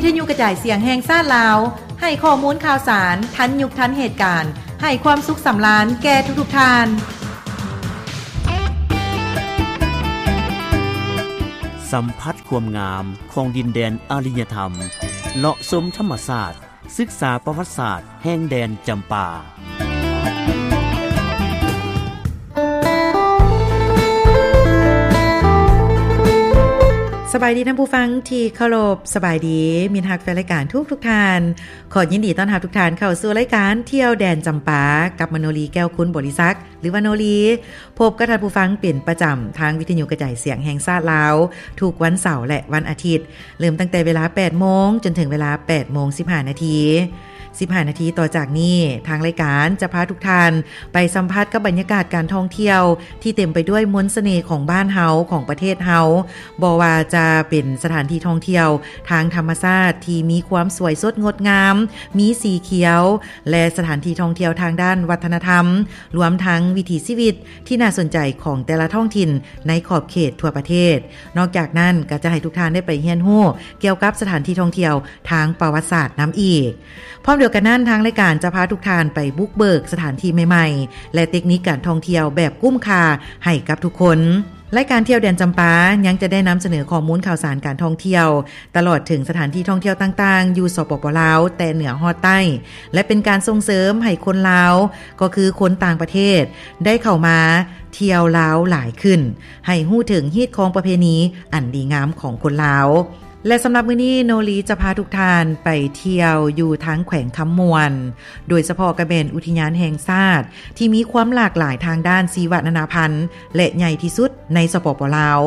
ວິທະຍຸກະຈາຍສຽງແຫ່ງຊາດລາວ ໃຫ້ຂໍ້ມູນຂ່າວສານທັນຍຸກທັນເຫດການ, ໃຫ້ຄວາມສຸກສຳລານແກ່ທຸກໆທ່ານ. ສຳຜັດຄວາມງາມຂອງດິນແດນອາລິຍະທຳ, ເລາະຊົມທຳມະຊາດ, ສຶກສາປະຫວັດສາດແຫ່ງແດນຈຳປາ. ສະບາຍດີທ່ານຜູ້ຟັງທີ່ເຄົາລົບ, ສະບາຍດີມິດຮັກແຟນລາຍການທຸກໆທ່ານ. ຂໍຍິນດີຕ້ອນຮັບທຸກທ່ານເຂົ້າສູ່ລາຍການທ່ຽວແດນຈຳປາ ກັບມະໂນລີ ແກ້ວຄຸນບໍລິສັກ ຫຼືວ່າໂນລີ. ພົບກັບທ່ານຜູ້ຟັງເປັນປະຈຳທາງວິທະຍຸກະຈາຍສຽງແຫ່ງຊາດລາວ ທຸກວັນເສົາ ແລະ ວັນອາທິດ, ເລີ່ມຕັ້ງແຕ່ເວລາແປດໂມງຈົນເຖິງເວລາແປດໂມງສິບຫ້ານາທີ. ສິບຫ້ານາທີຕໍ່ຈາກນີ້, ທາງລາຍການຈະພາທຸກທ່ານໄປສຳຜັດກັບບັນຍາກາດການທ່ອງທ່ຽວທີ່ເຕັມໄປດ້ວຍມົນສະເໜ່ຂອງບ້ານເຮົາ, ຂອງປະເທດເຮົາ, ບໍ່ວ່າຈະເປັນສະຖານທີ່ທ່ອງທ່ຽວທາງທຳມະຊາດທີ່ມີຄວາມສວຍສົດງົດງາມ, ມີສີຂຽວ, ແລະ ສະຖານທີ່ທ່ອງທ່ຽວທາງດ້ານວັດທະນະທຳ, ລວມທັງວິຖີຊີວິດທີ່ໜ້າສົນໃຈຂອງແຕ່ລະທ້ອງຖິ່ນໃນຂອບເຂດທົ່ວປະເທດ. ນອກຈາກນັ້ນ, ກໍຈະໃຫ້ທຸກທ່ານໄດ້ໄປຮຽນຮູ້ກ່ຽວກັບສະຖານທີ່ທ່ອງທ່ຽວທາງປະຫວັດສາດນຳອີກ. ພ້ອມດຽວກັນນັ້ນ, ທາງລາຍການຈະພາທຸກທ່ານໄປບຸກເບີກສະຖານທີ່ໃໝ່ໆ ແລະ ເຕັກນິກການທ່ອງທ່ຽວແບບກຸ້ມຄ່າໃຫ້ກັບທຸກຄົນ. ລາຍການທ່ຽວແດນຈຳປາຍັງຈະໄດ້ນຳສະເໜີຂໍ້ມູນຂ່າວສານການທ່ອງທ່ຽວ ຕະຫຼອດເຖິງສະຖານທີ່ທ່ອງທ່ຽວຕ່າງໆຢູ່ ສປປ ລາວ ແຕ່ເໜືອຮອດໃຕ້ ແລະ ເປັນການສົ່ງເສີມໃຫ້ຄົນລາວ, ກໍຄືຄົນຕ່າງປະເທດ, ໄດ້ເຂົ້າມາທ່ຽວລາວຫຼາຍຂຶ້ນ, ໃຫ້ຮູ້ເຖິງຮີດຄອງປະເພນີອັນດີງາມຂອງຄົນລາວ. ແລະ ສຳລັບມື້ນີ້, ໂນລີຈະພາທຸກທ່ານໄປທ່ຽວຢູ່ທາງແຂວງຄຳມ່ວນ, ໂດຍສະເພາະກະແມ່ນອຸທິຍານແຫ່ງຊາດທີ່ມີຄວາມຫຼາກຫຼາຍທາງດ້ານຊີວະນານາພັນ ແລະ ໃຫຍ່ທີ່ສຸດໃນ ສປປ ລາວ,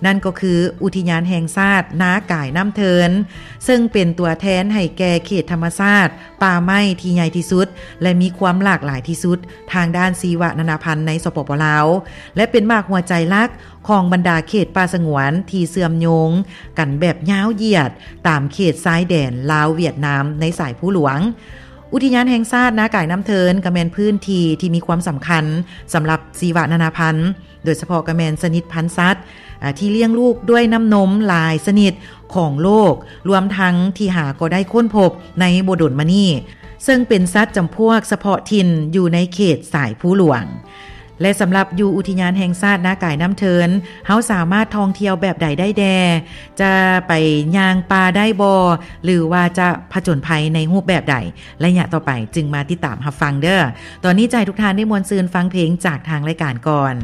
ນັ້ນກໍຄືອຸທິຍານແຫ່ງຊາດນາກາຍນ້ຳເທີນ, ເຊິ່ງເປັນຕົວແທນໃຫ້ແກ່ເຂດທຳມະຊາດປ່າໄມ້ທີ່ໃຫຍ່ທີ່ສຸດ ແລະ ມີຄວາມຫຼາກຫຼາຍທີ່ສຸດທາງດ້ານຊີວະນານາພັນໃນ ສປປ ລາວ ແລະ ເປັນໝາກຫົວໃຈຫຼັກຂອງບັນດາເຂດປ່າສະຫງວນທີ່ເຊື່ອມໂຍງກັນແບບຍາວຢຽດຕາມເຂດຊາຍແດນລາວ-ຫວຽດນາມໃນສາຍພູຫຼວງ. ອຸທິຍານແຫ່ງຊາດນາກາຍນ້ຳເທີນ ກໍແມ່ນພື້ນທີ່ທີ່ມີຄວາມສຳຄັນສຳລັບຊີວະນານາພັນ, ໂດຍສະເພາະກໍແມ່ນຊະນິດພັນສັດ ອາ ທີ່ລ້ຽງລູກດ້ວຍນ້ຳນົມຫຼາຍຊະນິດຂອງໂລກ, ລວມທັງທີ່ຫາກໍໄດ້ຄົ້ນພົບໃນບໍ່ດົນມານີ້, ເຊິ່ງເປັນສັດຈຳພວກສະເພາະຖິ່ນຢູ່ໃນເຂດສາຍພູຫຼວງ. ແລະ ສຳລັບຢູ່ອຸທິຍານແຫ່ງຊາດນາກາຍນ້ຳເທີນ, ເຮົາສາມາດທ່ອງທ່ຽວແບບໃດໄດ້ແດ່? ຈະໄປຍ່າງປ່າໄດ້ບໍ່? ຫຼືວ່າຈະຜະຈົນໄພໃນຮູບແບບໃດ? ໄລຍະຕໍ່ໄປຈຶ່ງມາຕິດຕາມຮັບຟັງເດີ້. ຕອນນີ້ຈະໃຫ້ທຸກທ່ານໄດ້ມ່ວນຊື່ນຟັງເພງຈາກທາງລາຍການກ່ອນ.